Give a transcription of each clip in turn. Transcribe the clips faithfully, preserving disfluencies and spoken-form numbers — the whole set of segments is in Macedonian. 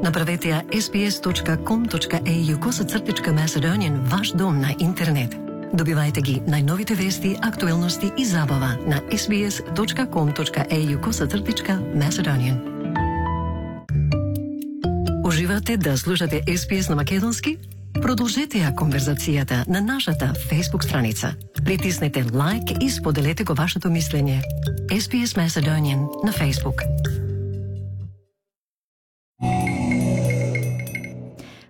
Направете ја ес би ес точка ком точка ей ю косацртичка Macedonian ваш дом на интернет. Добивајте ги најновите вести, актуелности и забава на ес би ес точка ком точка ей ю косацртичка Macedonian. Уживате да слушате ес би ес на македонски? Продолжете ја конверзацијата на нашата Facebook страница. Притиснете лайк и споделете го вашето мислење. ес би ес Macedonian на Facebook.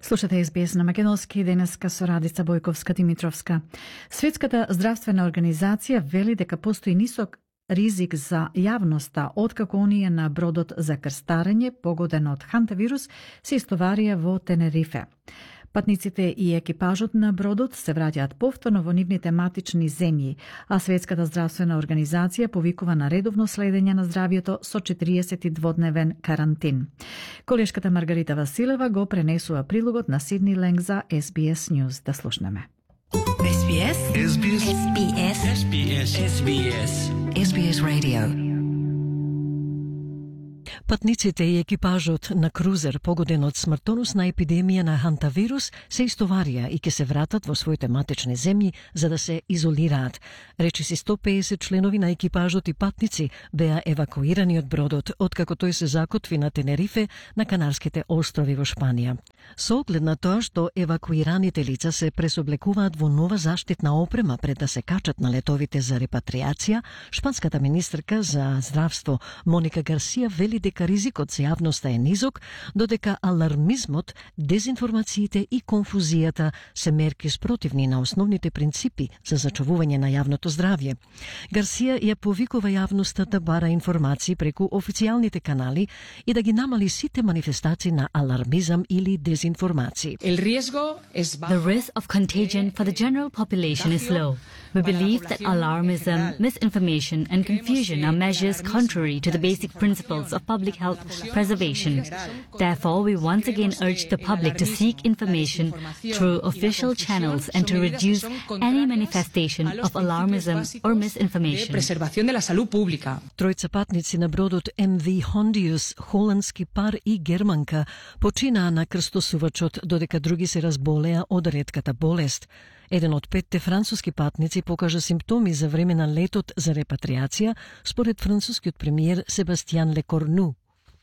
Слушате ес би ес на македонски, денеска со Радица Бојковска-Димитровска. Светската здравствена организација вели дека постои нисок ризик за јавноста откако оние на бродот за крстарење погоден од хантавирус се истоварија во Тенерифе. Патниците и екипажот на бродот се враќаат повторно во нивните матични земји, а Светската здравствена организација повикува на редовно следење на здравјето со четириесет и дводневен карантин. Колешката Маргарита Василева го пренесува прилогот на Сидни Ленг за ес би ес News. Да слушнеме. ес би ес ес би ес ес би ес ес би ес ес би ес ес би ес Radio. Патниците и екипажот на крузер погоден од смртоносна епидемија на хантавирус се истоварија и ќе се вратат во своите матични земји за да се изолираат. Речиси сто педесет членови на екипажот и патници беа евакуирани од бродот откако тој се закотви на Тенерифе на Канарските острови во Шпанија. Со оглед на тоа што евакуираните лица се пресоблекуваат во нова заштитна опрема пред да се качат на летовите за репатриација, шпанската министерка за здравство Моника Гарсија вели дека ризикот за јавноста е низок, додека алармизмот, дезинформациите и конфузијата се мерки спротивни на основните принципи за зачувување на јавното здравје. Гарсија ја повикува јавноста да бара информации преку официјалните канали и да ги намали сите манифестации на алармизам или дезинформации. The risk of contagion for the general population is low. We believe that alarmism, misinformation and confusion are measures contrary to the basic principles of public health preservation. Therefore, we once again urge the public to seek information through official channels and to reduce any manifestation of alarmism or misinformation. Тројца патници на бродот ем ви Hondius, холандски пар и германка, починаа на крстосувачот додека други се разболеа од ретката болест. Еден од петте француски патници покажа симптоми за време на летот за репатриација, според францускиот премиер Себастијан Лекорну.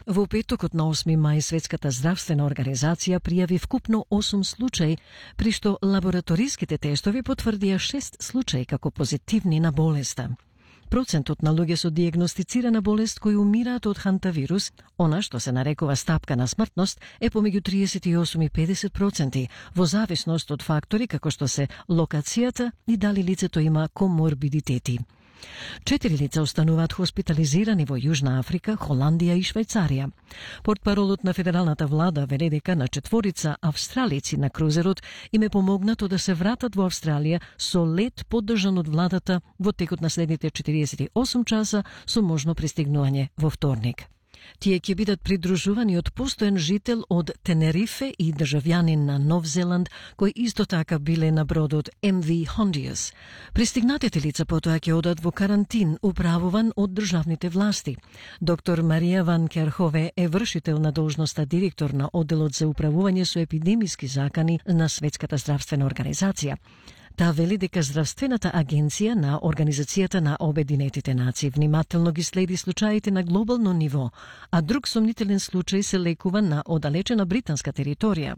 Во петокот на осми мај Светската здравствена организација пријави вкупно осум случаи, при што лабораториските тестови потврдија шест случаи како позитивни на болеста. Процентот на луѓе со дијагностицирана болест кои умираат од хантавирус, она што се нарекува стапка на смртност, е помеѓу триесет и осум и педесет проценти, во зависност од фактори како што се локацијата и дали лицето има коморбидитети. Четири лица остануваат хоспитализирани во Јужна Африка, Холандија и Швајцарија. Портпаролот на федералната влада вели дека на четворица австралици на крузерот им е помогнато да се вратат во Австралија со лет поддржан од владата во текот на следните четириесет и осум часа со можно пристигнување во вторник. Тие ќе бидат придружувани од постојан жител од Тенерифе и државјанин на Нов Зеланд, кои исто така биле на бродот ем ви Hondius. Пристигнатите лица потоа ќе одат во карантин, управуван од државните власти. Доктор Марија Ван Керхове е вршител на должноста директор на одделот за управување со епидемиски закани на Светската здравствена организација. Таа вели дека Здравствената агенција на Организацијата на Обединетите нации внимателно ги следи случаите на глобално ниво, а друг сомнителен случај се лекува на оддалечена британска територија.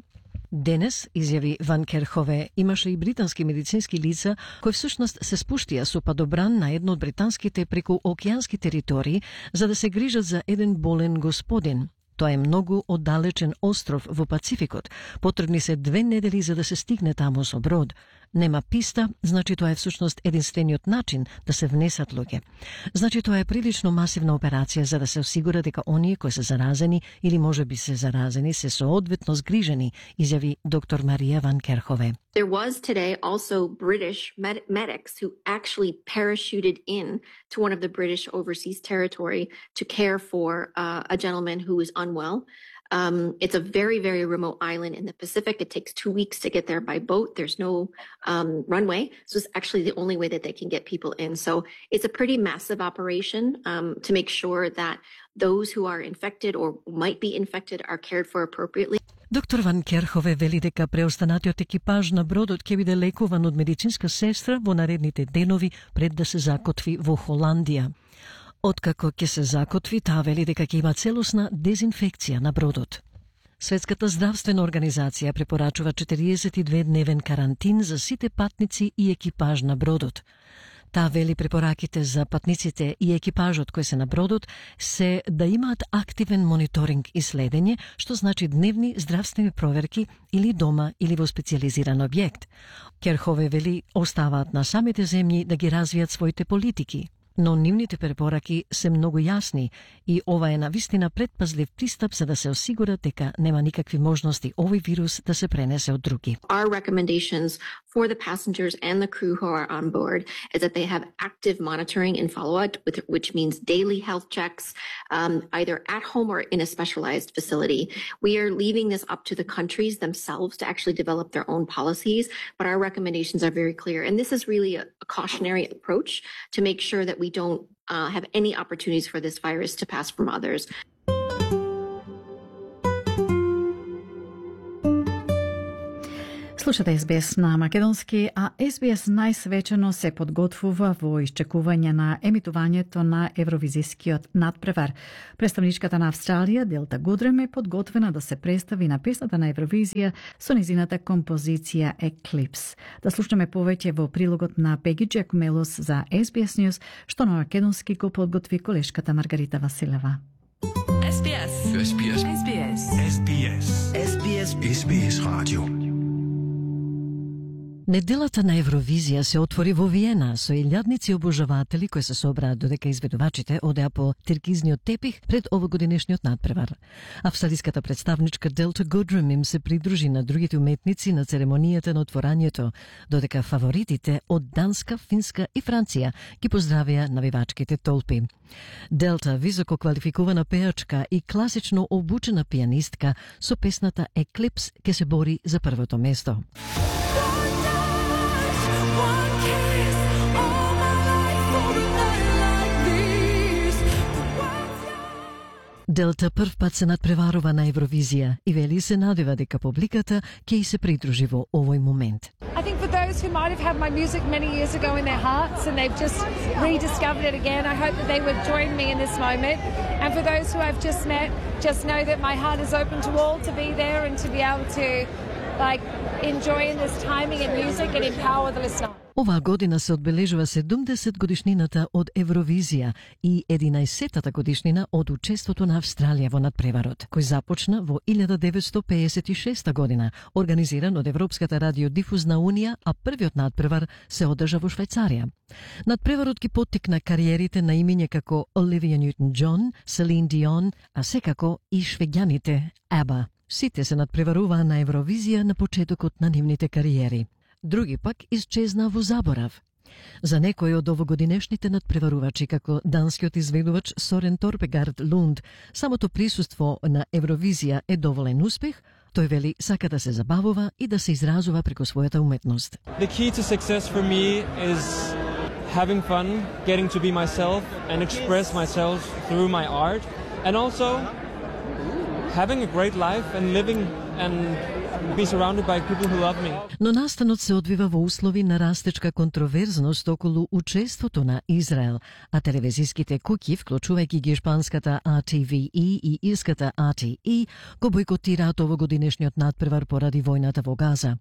Денес, изјави Ван Керхове, имаше и британски медицински лица кои всушност се спуштија со падобран на едно од британските преку океански територии за да се грижат за еден болен господин. Тоа е многу оддалечен остров во Пацификот. Потребни се две недели за да се стигне таму со брод. Нема писта, значи тоа е всушност единствениот начин да се внесат луѓе. Значи тоа е прилично масивна операција за да се осигура дека оние кои се заразени или може би се заразени се соодветно згрижени, изјави доктор Марија Ван Керхове. There was today also British med- medics who actually parachuted in to one of the British overseas territory to care for uh, a gentleman who was unwell. Um, it's a very, very remote island in the Pacific. It takes two weeks to get there by boat. There's no um, runway. So it's actually the only way that they can get people in. So it's a pretty massive operation um, to make sure that those who are infected or might be infected are cared for appropriately. Доктор Ван Керхове вели дека преостанатиот екипаж на бродот ќе биде лекуван од медицинска сестра во наредните денови пред да се закотви во Холандија. Откако ќе се закотви, таа вели дека ќе има целосна дезинфекција на бродот. Светската здравствена организација препорачува четириесет и две дневен карантин за сите патници и екипаж на бродот. Таа вели препораките за патниците и екипажот кои се на бродот се да имаат активен мониторинг и следење, што значи дневни здравствени проверки или дома или во специјализиран објект. Керхове вели оставаат на самите земји да ги развијат своите политики, но нивните препораки се многу јасни и ова е навистина предпазлив пристап за да се осигура дека нема никакви можности овој вирус да се пренесе од други. Our recommendations for the passengers and the crew who are on board is that they have active monitoring and follow-up, which means daily health checks, um, either at home or in a specialized facility. We are leaving this up to the countries themselves to actually develop their own policies, but our recommendations are very clear. And this is really a, a cautionary approach to make sure that we don't uh, have any opportunities for this virus to pass from others. Слушате Ес Би Ес на македонски, а Ес Би Ес најсвечено се подготвува во исчекување на емитувањето на Евровизискиот надпревар. Представничката на Австралија, Делта Гудрем, е подготвена да се представи на песната на Евровизија со низината композиција Eclipse. Да слушаме повеќе во прилогот на Пеги Джакумелос за Ес Би Ес News, што на македонски го подготви колешката Маргарита Василева. Ес Би Ес. Ес Би Ес. Ес Би Ес. Ес Би Ес. Ес Би Ес. Ес Би Ес радио. Неделата на Евровизија се отвори во Виена со илјадници обожаватели кои се собраа додека изведувачите одеа по теркизниот тепих пред овогодинешниот надпревар. Австралиската представничка Делта Гудрем им се придружи на другите уметници на церемонијата на отворањето, додека фаворитите од Данска, Финска и Франција ги поздравија навивачките толпи. Делта, високо квалификувана пеачка и класично обучена пианистка, со песната Eclipse ќе се бори за првото место. Делта прв пат се надпреварува на Евровизија и вели се надева дека публиката ќе и се придружи во овој момент. I think for those who might have had my music many years ago in their hearts and they've just rediscovered it again, I hope that they would join me in this moment. And for those who I've just met, just know that my heart is open to all to be there and to be able to like enjoy in this timing and music and empower the listener. Оваа година се одбележува седумдесет годишнината од Евровизија и единаесеттата годишнина од учеството на Австралија во надпреварот, кој започна во илјада деветстотини пеесет и шеста година, организиран од Европската радиодифузна унија, а првиот надпревар се одржа во Швајцарија. Надпреварот ги поттикна кариерите на имиња како Оливија Нјутон-Џон, Селин Дион, а секако и швеѓаните ABBA. Сите се надпреваруваа на Евровизија на почетокот на нивните кариери. Други пак исчезна во заборав. За некои од овогодинешните надпреварувачи, како данскиот изведувач Сорен Торпегард Лунд, самото присуство на Евровизија е доволен успех. Тој вели сака да се забавува и да се изразува преку својата уметност. The key to success for me is having fun, getting to be myself and express myself through my art, and also having a great life and living and be surrounded by people who love me. Но настанот се одвива во услови на растечка контроверзност околу учеството на Израел, а телевизиските куќи, вклучувајќи ги шпанската А Т В И и ирската А Т И, го бойкотираат овогодинешниот надпревар поради војната во Газа.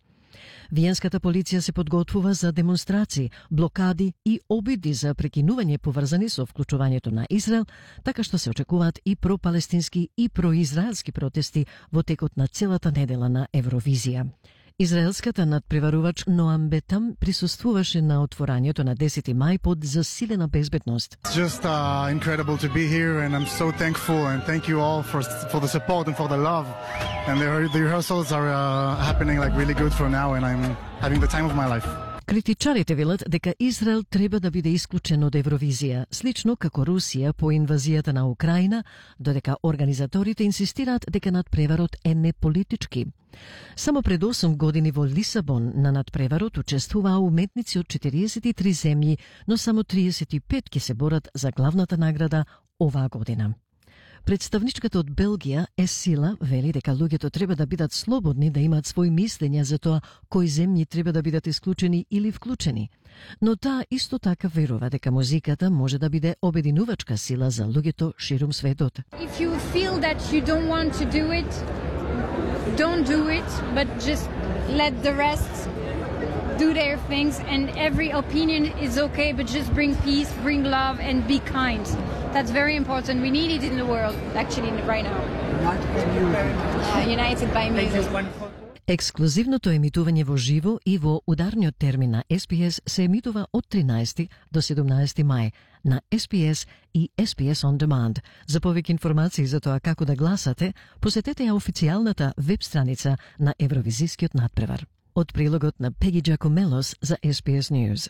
Виенската полиција се подготвува за демонстрации, блокади и обиди за прекинување поврзани со вклучувањето на Израел, така што се очекуваат и пропалестински и произраелски протести во текот на целата недела на Евровизија. Израелската надпреварувач Ноам Бетам присуствуваше на отворањето на десети мај под засилена безбедност. It's just uh, incredible to be here and I'm so thankful and thank you all for for the support and for the love. And the, the rehearsals are uh, happening like really good for now and I'm having the time of my life. Критичарите велат дека Израел треба да биде исклучен од Евровизија, слично како Русија по инвазијата на Украина, додека организаторите инсистираат дека надпреварот е неполитички. Само пред осум години во Лисабон на надпреварот учествуваа уметници од четириесет и три земји, но само триесет и пет ќе се борат за главната награда оваа година. Представничката од Белгија, Есила, вели дека луѓето треба да бидат слободни да имаат свои мислења за тоа кои земји треба да бидат исклучени или вклучени. Но таа исто така верува дека музиката може да биде обединувачка сила за луѓето ширум светот. If you feel that you don't want to do it, don't do it, but just let the rest do their things, and every opinion is okay, but just bring peace, bring love, and be kind. That's very important. We need it in the world, actually, right now. Uh, united by music. Ексклузивното емитување во живо и во ударниот термин на Ес Би Ес се емитува од тринаесети до седумнаесети мај на Ес Би Ес и Ес Би Ес On Demand. За повеќе информации за тоа како да гласате, посетете ја официјалната веб страница на Евровизискиот надпревар. Од прилогот на Пеги Джакомелос за Ес Би Ес News.